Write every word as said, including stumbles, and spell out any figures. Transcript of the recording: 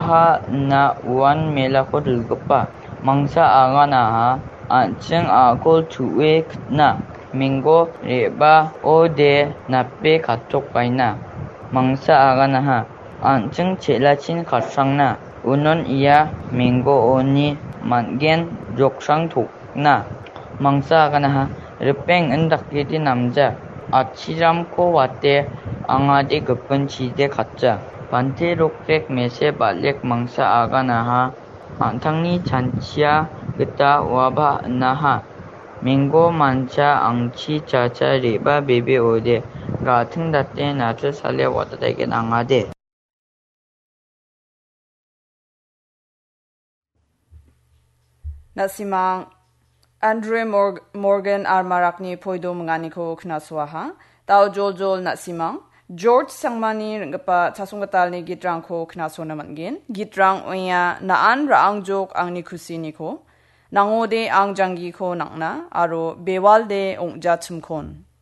Ha ina uan melako dilgipa. Mangsa aganaha an·ching a·kol chu·e kitna. Minggo re·baode nape katokbaina. Mangsa aganaha an·ching chelachin katsangna. Unon ia minggooni man·gen joksang tokna. Mangsa aganaha ripeng indakgidi namja. Atchiramko wate angade gipin chide katja. Bante rokrek mese balek mangsa aganaha an·tangni chanchia gita uaba inaha. Minggo mancha angchi chacha re·ba bebe ode ga·ting date nachu sale watataigen angade. Na·simang Andre Mor-, Morgan Armarakni poido minganiko knasoaha. Dao joljol na·simang George Sangmani ring·gipa chasonggitalni gitrangko knasona man·gen. Gitrang ong·a Na·an Ra·angjok Angni Kusiniko, Nangode Ang Janggiko Nang·na aro Bewalde Ong·jachimkon.